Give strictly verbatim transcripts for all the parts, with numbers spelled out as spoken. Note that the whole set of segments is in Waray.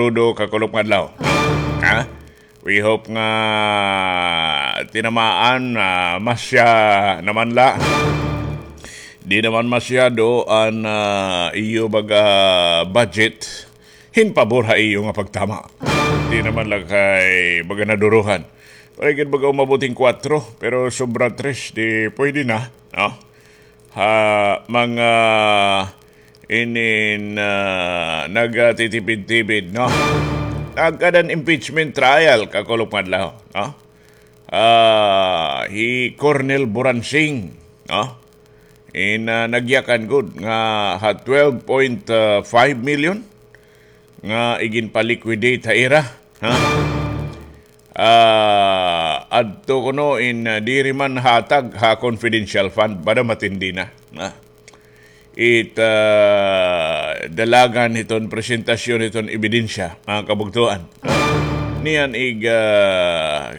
Rudo, kakulop nga adlaw. Ha? We hope nga tinamaan, ah, masya naman la. Di naman masyado an, ah, iyo baga budget hin pabor ha iyo nga pagtama. Di naman la kay baga naduruhan. Waray gud baga umabot hin kwatro, pero sobra tres, di pwede na, no? Ha, mga inin, ah, nagtitipid-tipid, no? Nagkaada an impeachment trial, kakulop nga adlaw, no? Ah, hi Colonel Buransing, no? In, ah, nagyakan gud nga ha twelve point five million nga iginpa-liquidate ha ira, ha? Ah, adto kuno in, ah, diri man hatag ha confidential fund, bada matindi na, ha? It, ah, dalagan hiton presentasyon hiton ebidensya, mga kabugtoan. Niyan ig, ah,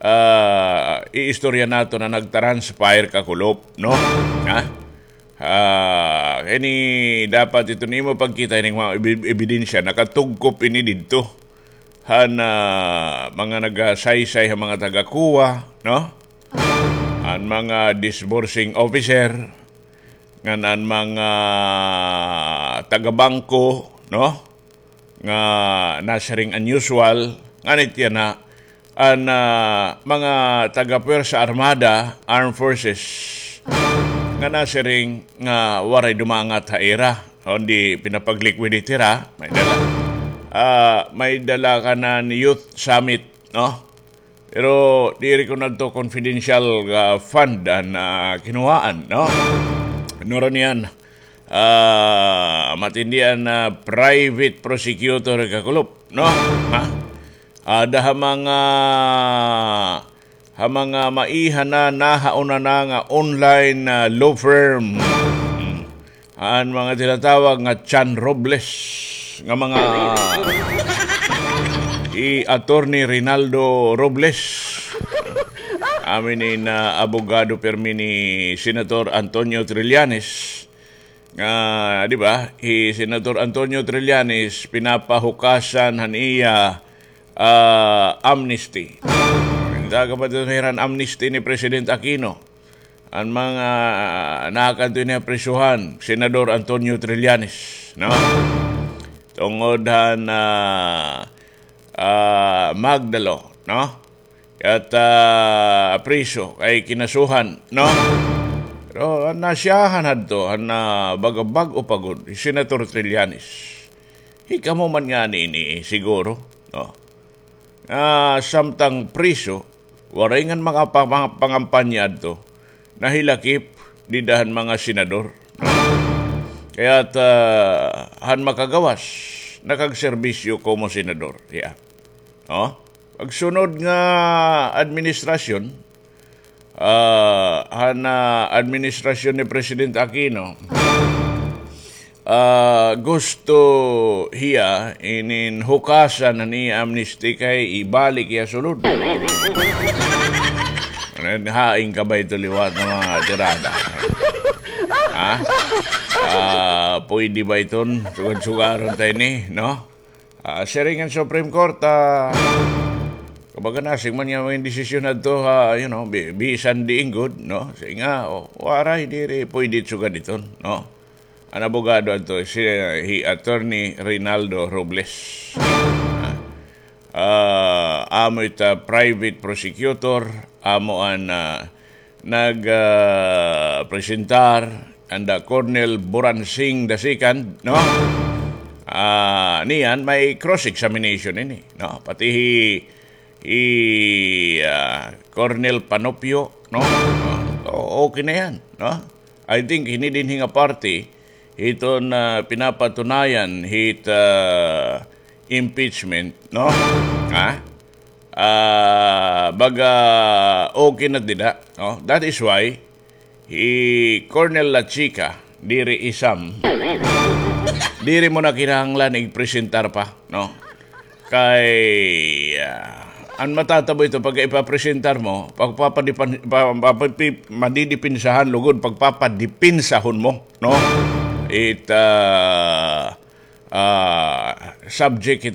ah, iistorya naton na nagtranspire, kakulop, no? Ha? Ah, kini dapat iton imo pagkita ining mga ebi-, ebidensya, nakatugkop ini didto han, ah, mga nagasaysay ha mga taga-COA, no? An mga disbursing officer, ngan an mga taga-bangko, no? Nga nasiring unusual, ngan it yana, an, ah, mga taga-Puwersa Armada, Armed Forces, nga nasiring nga waray dumangat ha ira, kundi pinapag-liquidate hira, may dala. Ah, may dala kanan Youth Summit, no? Pero diri kuno adto confidential nga fund an, ah, kinuhaan, no? Nura niyan, ah, matindi an, ah, private prosecutor, kakulop, no? Ha? Ada ha mga, ha mga maiha na, nahauna na nga online, ah, law firm. An mga tinatawag nga Chan Robles, nga mga, hi Attorney Rinaldo Robles. Amin in, ah, abogado pirmi ni Senator Antonio Trillanes. Nga, di ba, hi Senator Antonio Trillanes pinapahukasan han iya, ah, amnesty. Taga ba ito hiran amnesty ni President Aquino? An mga, ah, nakadto ini ha prisuhan, Senador Antonio Trillanes, no? Tungod han, ah, ah, magdalo, no? At, ah, priso kay kinasuhan, no? Pero an nasyahan hadto, an, ah, baga bag-o pa gud, hi Senator Trillanes. Hikamo man ngani ini, siguro, no? Ah, samtang priso, waray ngan mga pa-, mga pangampanya adto, nahilakip dida han mga senador. Kaya ta, han makagawas, nakagserbisyo komo senador. Yeah. Oh? Pagsunod nga administrasyon, ah, han, ah, administrasyon ni President Aquino, ah, gusto hiya inin hukasan an iya amnesty kay ibalik hiya sulod. Hain ka ba ito liwat nga mga tirada? Ha? Ah, pwede ba iton? Sugad-sugaron ta ini, no? Ah, siring an Supreme Court, ah, kumbaga nasiring man nga may desisyon adto, ha, you know, bi-, bisan diin gud, no? Siring nga, oh, waray, diri pwede sugad iton, no? An abogado adto, si, hi Attorney Rinaldo Robles. Ah, ah, amo ita private prosecutor, amo an, ah, nag, ah, presentar, anda Colonel Buransing the second, no? Ah, niyan, may cross-examination ini, no? Pati hi, hi, ah, Colonel Panopio, no? Ah, o-, okay na yan, no? I think hini dinhi nga parte, hiton, ah, pinapatunayan hit, ah, impeachment, no? Ha? Ah, baga okay na dida, no? That is why hi Colonel Lachica, diri isam, diri mo na kinahanglan igpresentar pa, no? Kay, ah, an matatabo ito, pagka ipapresentar mo, pagpapadipan-, pa-, pa-, pi-, madidipinsahan lugod, pagpapadipensahon mo, no? It, ah, ah, subject it